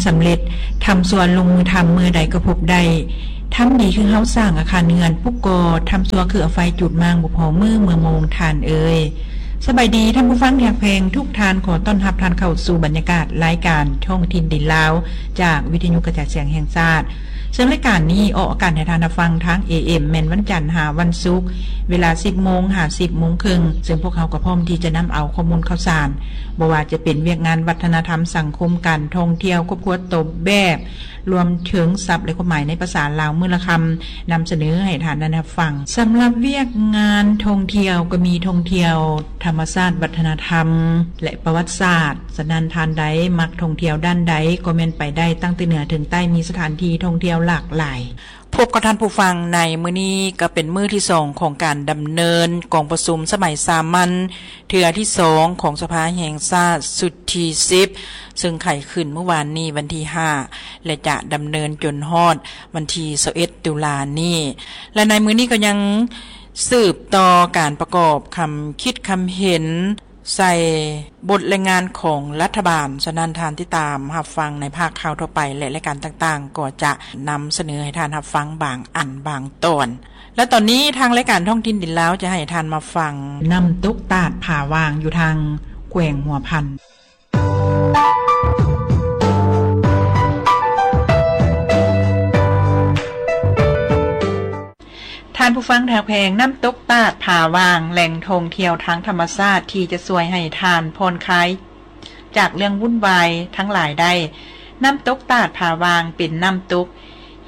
ສຳເລັດ. ທຳຊົ່ວລົງມືທຳ ເມື່ອໃດກໍພົບໄດ້. ທຳດີຄືເຮົາສ້າງອາຄານເຮືອນ, ປຸກກໍທຳຊົ່ວຄືເອົາໄຟຈູດມ້າງ ບໍ່ພໍມື້ເມື່ອໂມງທ່ານເອີຍ. ສະບາຍດີທ່ານຜູ້ຟັງທີ່ຮັກແພງທຸກທ່ານ, ຂໍຕ້ອນຮັບທ່ານເຂົ້າສູ່ບັນຍາກາດລາຍການທ້ອງຖິ່ນດິນລາວ ຈາກວິທະຍຸກະຈາຍສຽງແຫ່ງຊາດ. ເຊິ່ງລາຍການນີ້ອອກອາກາດໃຫ້ທ່ານຮັບຟັງທາງ ເອເອັມ ແມ່ນວັນຈັນຫາວັນສຸກ ເວລາ ສິບໂມງ ຫາ ສິບໂມງເຄິ່ງ, ເຊິ່ງພວກເຮົາກໍພ້ອມທີ່ຈະນຳເອົາຂໍ້ມູນຂ່າວສານ ບໍ່ວ່າຈະເປັນວຽກງານວັດທະນະທຳ, ສັງຄົມ, ການທ່ອງທ່ຽວ, ຄອບຄົວ, ຕົວແບບ, ລວມເຖິງສັບ ແລະ ຄວາມໝາຍໃນພາສາລາວມື້ລະຄຳ ນຳສະເໜີໃຫ້ທ່ານໄດ້ຮັບຟັງ. ສຳລັບວຽກງານທ່ອງທ່ຽວກໍມີທ່ອງທ່ຽວທຳມະຊາດ, ວັດທະນະທຳ ແລະ ປະຫວັດສາດ. ສະນັ້ນທ່ານໃດມັກທ່ອງທ່ຽວດ້ານໃດກໍແມ່ນໄປໄດ້, ຕັ້ງແຕ່ເໜືອເຖິງໃຕ້ ມີສະຖານທີ່ທ່ອງທ່ຽວຫຼາກຫຼາຍ. ພົບກັບທ່ານຜູ້ຟັງໃນມື້ນີ້ກໍເປັນມື້ທີສອງຂອງການດຳເນີນກອງປະຊຸມສະໄໝສາມັນເທື່ອທີສອງຂອງສະພາແຫ່ງຊາດຊຸດທີສິບ ເຊິ່ງໄຂຂຶ້ນມື້ວານນີ້ວັນທີຫ້າ ແລະ ຈະດຳເນີນຈົນຮອດວັນທີຊາວເອັດຕຸລານີ້ ແລະ ໃນມື້ນີ້ກໍຍັງສືບຕໍ່ການປະກອບຄຳຄິດຄຳເຫັນ ໃສ່ບົດລາຍງານຂອງລັດຖະບານ. ສະນັ້ນທ່ານຕິດຕາມຮັບຟັງໃນພາກຂ່າວທົ່ວໄປ ແລະ ລາຍການຕ່າງໆ ກໍຈະນຳສະເໜີໃຫ້ທ່ານຮັບຟັງບາງອັນບາງຕອນ. ແລະ ຕອນນີ້ທາງລາຍການທ້ອງຖິ່ນດິນລາວຈະໃຫ້ທ່ານມາຟັງ ນ້ຳຕົກຕາດຜາຫວ່າງ ຢູ່ທາງແຂວງຫົວພັນ. ທ່ານຜູ້ຟັງທີ່ຮັກແພງ, ນ້ຳຕົກຕາດຜາຫວ່າງ ແຫຼ່ງທ່ອງທ່ຽວທາງທຳມະຊາດທີ່ຈະຊ່ວຍໃຫ້ທ່ານຜ່ອນຄາຍຈາກເລື່ອງວຸ່ນວາຍທັງຫຼາຍໄດ້. ນ້ຳຕົກຕາດຜາຫວ່າງເປັນນ້ຳຕົກ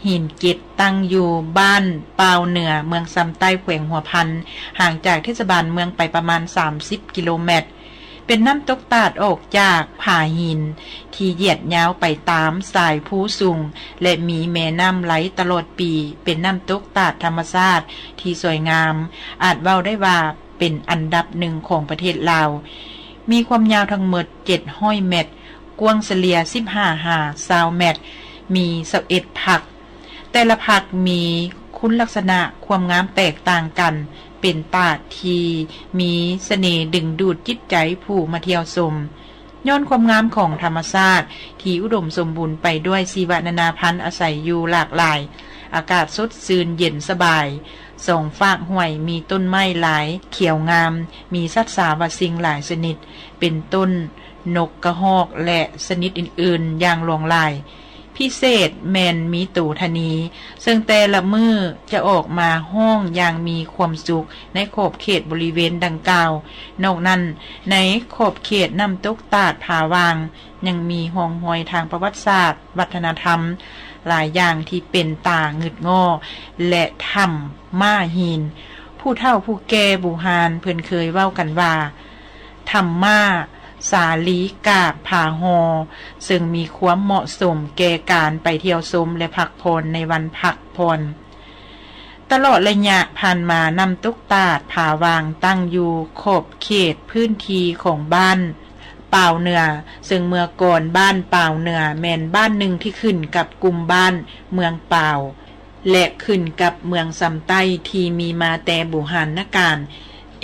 ຫີນເກັດ ຕັ້ງຢູ່ບ້ານປ່າວເໜືອ ເມືອງຊຳໃຕ້ ແຂວງຫົວພັນ, ຫ່າງຈາກເທດສະບານເມືອງໄປປະມານສາມສິບກິໂລແມັດ. ເປັນນ້ຳຕົກຕາດອອກຈາກຜາຫີນທີ່ຢຽດຍາວໄປຕາມສາຍພູສູງ ແລະ ມີແມ່ນ້ຳໄຫຼຕະຫຼອດປີ. ເປັນນ້ຳຕົກຕາດທຳມະຊາດທີ່ສວຍງາມ, ອາດເວົ້າໄດ້ວ່າເປັນອັນດັບໜຶ່ງຂອງປະເທດລາວ. ມີຄວາມຍາວທັງໝົດເຈັດຮ້ອຍແມັດ, ກວ້າງສະເລ່ຍສິບຫ້າຫາຊາວແມັດ, ມີຊາວເອັດພັກ. ແຕ່ລະພັກມີຄຸນລັກສະນະຄວາມງາມແຕກຕ່າງກັນ, ເປັນຕາດທີ່ມີສະເໜ່ດຶງດູດຈິດໃຈຜູ້ມາທ່ຽວຊົມ. ຍ້ອນຄວາມງາມຂອງທຳມະຊາດທີ່ອຸດົມສົມບູນໄປດ້ວຍຊີວະນານາພັນອາໄສຢູ່ຫຼາກຫຼາຍ, ອາກາດສົດຊື່ນເຢັນສະບາຍ, ສອງຟາກຫ້ວຍມີຕົ້ນໄມ້ຫຼາຍຂຽວງາມ, ມີສັດສາວາສິ່ງຫຼາຍຊະນິດ ເປັນຕົ້ນນົກກະຮອກ ແລະ ຊະນິດອື່ນໆຢ່າງຫຼວງຫຼາຍ. ພິເສດແມ່ນມີໂຕທະນີ ເຊິ່ງແຕ່ລະມື້ຈະອອກມາຮ້ອງຢ່າງມີຄວາມສຸກໃນຂອບເຂດບໍລິເວນດັ່ງກ່າວ. ນອກນັ້ນ, ໃນຂອບເຂດນ້ຳຕົກຕາດຜາຫວ່າງ ຍັງມີຮ່ອງຮອຍທາງປະຫວັດສາດ, ວັດທະນະທຳຫຼາຍຢ່າງທີ່ເປັນຕາງຶດງໍ້ ແລະ ຖ້ຳມ້າຫີນ. ຜູ້ເຖົ້າຜູ້ແກ່ບູຮານເພິ່ນເຄີຍເວົ້າກັນວ່າ ຖ້ຳມ້າສາລີກາບຜາຫໍ່ ເຊິ່ງມີຄວາມເໝາະສົມແກ່ການໄປທ່ຽວຊົມ ແລະ ພັກຜ່ອນໃນວັນພັກຜ່ອນ. ຕະຫຼອດໄລຍະຜ່ານມາ, ນ້ຳຕົກຕາດຜາຫວ່າງຕັ້ງຢູ່ຂອບເຂດພື້ນທີ່ຂອງບ້ານປາວເໜືອ, ເຊິ່ງເມື່ອກ່ອນບ້ານປາວເໜືອແມ່ນບ້ານໜຶ່ງທີ່ຂຶ້ນກັບກຸ່ມບ້ານເມືອງປາວ ແລະ ຂຶ້ນກັບເມືອງຊຳໃຕ້ທີ່ມີມາແຕ່ບູຮານນະການ.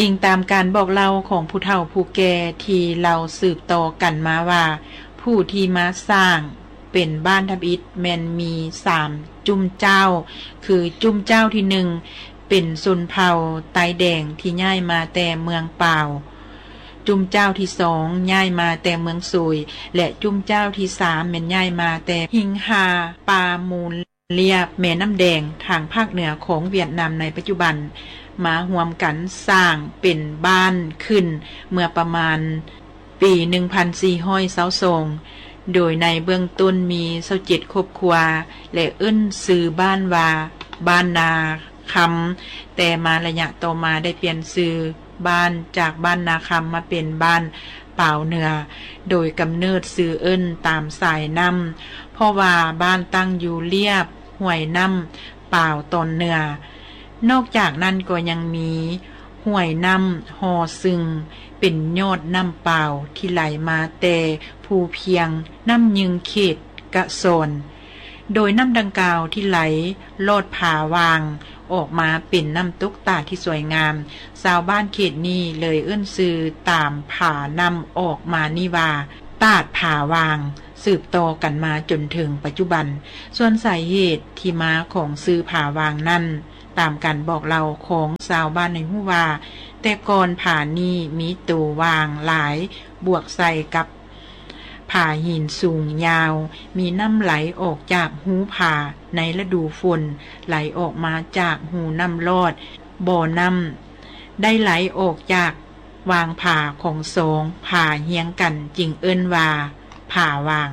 ອີງຕາມການບອກເລົ່າຂອງຜູ້ເຖົ້າຜູ້ແກ່ທີ່ເລົ່າສືບຕໍ່ກັນມາວ່າ ຜູ້ທີ່ມາສ້າງເປັນບ້ານທຳອິດແມ່ນມີສາມຈຸ້ມເຈົ້າ, ຄືຈຸ້ມເຈົ້າທີໜຶ່ງເປັນຊົນເຜົ່າໄຕແດງທີ່ຍ້າຍມາແຕ່ເມືອງປາວ, ຈຸ້ມເຈົ້າທີສອງຍ້າຍມາແຕ່ເມືອງໂສຍ ແລະ ຈຸ້ມເຈົ້າທີສາມແມ່ນຍ້າຍມາແຕ່ຫິງຫາປ່າມູນ ລຽບແມ່ນ້ຳແດງທາງພາກເໜືອຂອງຫວຽດນາມໃນປັດຈຸບັນ ມາຮ່ວມກັນສ້າງເປັນບ້ານຂຶ້ນເມື່ອປະມານປີໜຶ່ງພັນສີ່ຮ້ອຍຊາວສອງ ໂດຍໃນເບື້ອງຕົ້ນມີຊາວເຈັດຄອບຄົວ ແລະ ເອີ້ນຊື່ບ້ານວ່າບ້ານນາຄຳ, ແຕ່ມາໄລຍະຕໍ່ມາໄດ້ປ່ຽນຊື່ ບ້ານຈາກບ້ານນາຄຳມາເປັນບ້ານປາວເໜືອ, ໂດຍກຳເນີດຊື່ເອີ້ນຕາມສາຍນ້ຳ ເພາະວ່າບ້ານຕັ້ງຢູ່ລຽບຫ້ວຍນ້ຳປາວຕອນເໜືອ. ນອກຈາກນັ້ນກໍຍັງມີຫ້ວຍນ້ຳຫໍ່ຊຶງ ເປັນຍອດນ້ຳປາວທີ່ໄຫຼມາແຕ່ພູພຽງນ້ຳຍຶງເຂດກະຊອນ. ໂດຍນ້ຳດັ່ງກ່າວທີ່ໄຫຼລອດຜາຫວ່າງອອກມາເປັນນ້ຳຕົກຕາດທີ່ສວຍງາມ, ຊາວບ້ານເຂດນີ້ເລີຍເອີ້ນຊື່ຕາມຜານ້ຳອອກມານີ້ວ່າ ຕາດຜາຫວ່າງ. ສືບຕໍ່ກັນມາຈົນເຖິງປັດຈຸບັນ. ສ່ວນສາເຫດທີ່ມາຂອງຊື່ຜາຫວ່າງນັ້ນ, ຕາມການບອກເລົ່າຂອງຊາວບ້ານໃຫ້ຮູ້ວ່າ, ແຕ່ກ່ອນຜານີ້ມີໂຕຫວ່າງຫຼາຍ, ບວກໃສ່ກັບຜາຫີນສູງຍາວ, ມີນ້ຳໄຫຼອອກຈາກຮູຜາໃນລະດູຝົນ, ໄຫຼອອກມາຈາກຮູນ້ຳລອດ, ບໍ່ນ້ຳໄດ້ໄຫຼອອກຈາກຫວ່າງຜາຂອງສອງຜາຮຽງກັນ, ຈຶ່ງເອີ້ນວ່າຜາຫວ່າງ.